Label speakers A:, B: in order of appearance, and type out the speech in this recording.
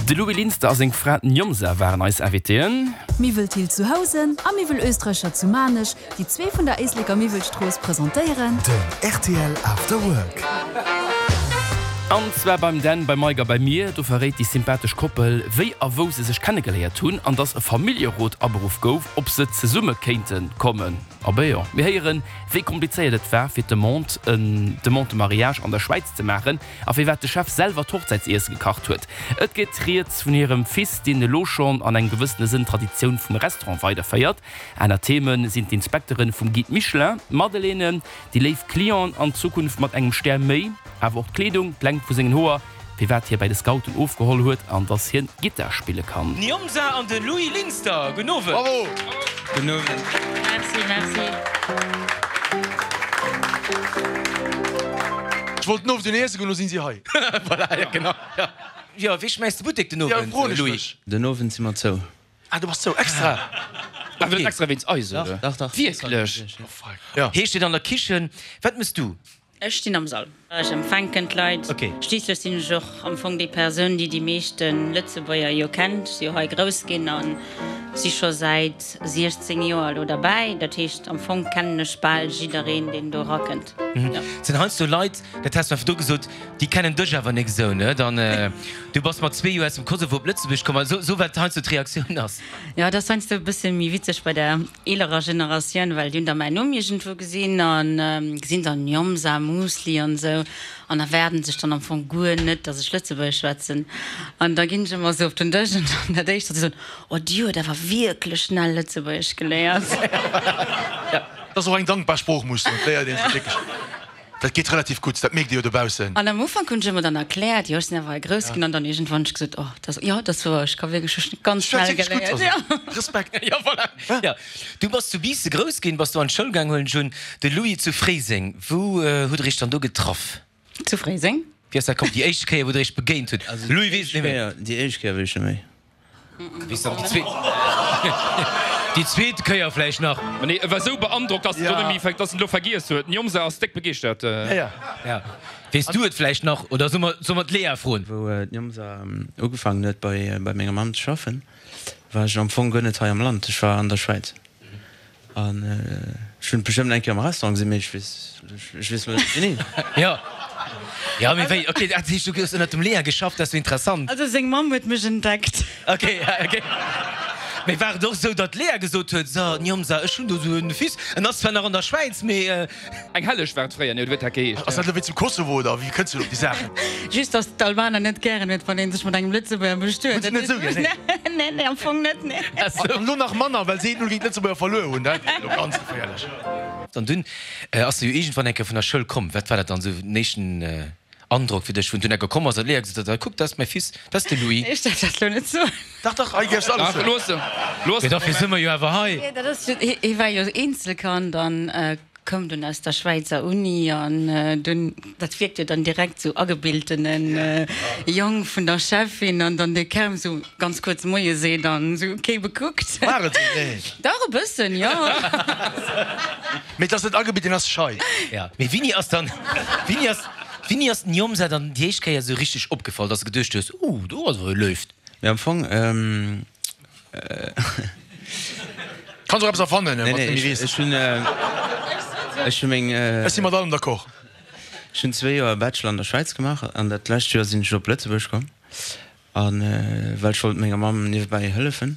A: De Louis Linster a seng Fra Njomza waren eis Invitéen.
B: Miwwel Thill zu Housen a Miwwel Oesträcher zu Maarnech, déi zwee vun der Éisleker Miwwelstrooss presentéieren.
C: Den rtl After Work.
A: An zwar beim Dan, beim Mike a bei mir. Do verréit déi sympathesch Koppel, wéi a wou se sech kennegeléiert hunn an dass e Familljerot aberuff gouf, ob se zesumme kéinte kommen. Abee jo, mir héieren, wéi komplizéiert et war, fir d'Demande, en Demande de mariage an der Schwäiz ze maachen a firwat de Chef selwer d'Hochzäitsiesse gekacht huet. Et geet rieds vun hirem Fils, deen elo schonn an engem gewëssene Sënn d'Traditioun vum Restaurant weiderféiert. Aner Theme sinn d'Inspekteren vum Guide Michelin, d'Madeleine, déi léif Clienten an Zukunft mat engem Stär méi, awer och d'Kleedung, d'Längt vu sengen Hoer, firwat hie bäi de Scouten ofgeholl huet an dass hien Gittar spille kann.
D: D'Njomsa an de Louis Linster, gudden Owend.
E: Bravo!
F: Gudden Owend.
G: Merci, merci.
E: Ech wollt den Owend un iesse goen, lo sinn si hei.
D: Voilà, ja genau. Jo, wéi schmäiss de Buttek den
E: Ja,
D: Owend,
E: froen ech
D: Louis?
E: mech.
F: Den Owend si mer zou.
E: Ah, du bass zou, extra?
A: Awer net extra wéinst eis, oder?
F: Dach, dach.
A: Wierklech?
E: Oh fuck, ja.
D: Heescht et an der Kichen, wat mëss du?
G: Ech stinn am Sall. Ech empfänken d'Leit.
D: Okay.
G: Schliisslech sinn ech och am Fong déi Persoun, déi déi meeschte Lëtzebuerger jo kennt. Ech si jo hei grouss ginn a si scho säit 16 Joer elo derbäi. Dat heescht, am Fong kennen ech bal jiddereen, deen do erakënnt. Jo.
D: Et sinn heiansdo Leit, dat has du einfach do gesot, déi kennen dech awer nik esou, ne? Dann, du bass mat zwee Joer aus dem Kosovo op Lëtzebuerg komm. Esou, esou wat heiansdo d'Reaktioun ass.
G: Jo, et ass heiansdo e bësse méi witzeg bei der eelerer Generatioun, well déi hunn da mäin Numm iergendwou gesinn a gesinn dann Njomsa, Musli an esou an erwaarden sech dann am Fong guer net, datt ech Lëtzebuergesch schwätzen. An da ginn ech ëmmer esou op den Dësch an dann dat éischt, wat si soen, Oh, déi huet awer wierklech schnell Lëtzebuergesch geléiert.
E: Dat ass och eng dankbar Sprooch, muss ech soen. Et léiert ee se wierklech. Dat geet relativ gutt, dat mierkt Dir jo dobaussen.
G: An am Ufank hunn ech ëmmer dann erkläert, jo ech sinn awer hei grouss ginn an dann iergendwann hunn ech gesot, oh dat ass, jo dat ass wouer, ech ka wierklech, ech hunn ganz schnell geléiert, jo.
E: Respekt.
D: Jo voilà, jo. Du bass zu Biissen grouss ginn, bass do an d'Schoul gaang, huelen ech un. De Louis zu Fréiseng, wou hutt der iech dann do getraff?
G: Zu Fréiseng.
D: Wéi ass dat komm, déi éischt Kéier wou der iech begéint hutt? Louis weess et net méi.
F: Déi éischt Kéier weess ech net méi.
D: Déi zweet Kéier vläicht nach.
A: Ma nee, e war sou beandrockt, dass en et net méi, dass en elo vergiess huet. D'Njomsa ass déck begeeschtert.
D: Ja. Weess du et vläicht nach oder soll mer, soll mer d'Lea froen?
F: Wou d'Njomsa ugefaangen huet bei, bei menger Mamm ze schaffen, war ech am Fong guer net hei am Land. Ech war an der Schwäiz. An ech hunn et bestëmmt eng Kéier am Restaurant gesinn, mee ech weess, ech weess elo net wéini.
D: Jo, jo, mee wéi, ok, dat heescht du hues ënnert dem Léa geschafft, dat ass jo interessant.
G: Also seng Mamm huet mech entdeckt.
D: Ok, ok. Mee war et och esou, datt d'Léa gesot huet, so Njomsa, ech hunn do esou e Fils, en ass zwar nach an der Schwäiz, mee.
A: Eng Helleg war et fréier, nee, oder wéi huet dat geheescht?
E: Ass dat elo wéi zum Kosovo, oder wéi kënns du elo op déi Saachen?
G: Just, datt d'Albaner net gären huet, wann ee sech mat engem Lëtzebuerger bestuet.
E: Hunn se net esou gär, nee.
G: Nee, nee, am Fong net, nee.
E: An elo nach manner, well se 1-0 géint d'Lëtzebuerger verluer hunn. Dat wier elo ganz geféierlech.
D: An dunn ass de jo iergendwann eng Kéier vun der Schoul komm. Wat war dat dann esou den éischten Androck fir dech, wou en dunn eng Kéier komm ass an d'Léa gesot huet, Kuck, dat ass mäi Fils, dat ass de Louis?
G: Ech däerf dat elo net soen.
E: Dach, dach, hei däerfs de alles soen.
A: Looss, looss.
D: Mee dofir si mer jo awer hei.
G: Nee, dat ass, hie war jo Eenzelkand an koum dunn aus der Schwäizer Uni an dunn, dat wierkt jo dann direkt sou agebiltene Jong vun der Chefin an dann dee Kerm sou ganz kuerz Moie seet an sou kee bekuckt.
E: War et sou? Nee.
G: Dach e bëssen, jo.
E: Mee et ass net agebilten, ass schei.
D: Ja, mee wéini ass dann, wéini ass, wéini ass den Jomsa dann déi éischt Kéier sou richteg opgefall, dass de geduecht hues, oh do ass awer e Léift?
F: Mee am Fong,
E: Kanns och eppes erfannen,
F: Nee,
E: wann s
F: nee,
E: de méi weess.
F: ech hunn, ech hu meng.
E: Ech si mat allem d'accord.
F: Ech hunn zwee Joer Bachelor an der Schwäiz gemaach an dat lescht Joer sinn ech op Lëtzebuerg komm, a well ech wollt menger Mamm niewebäi hëllefen.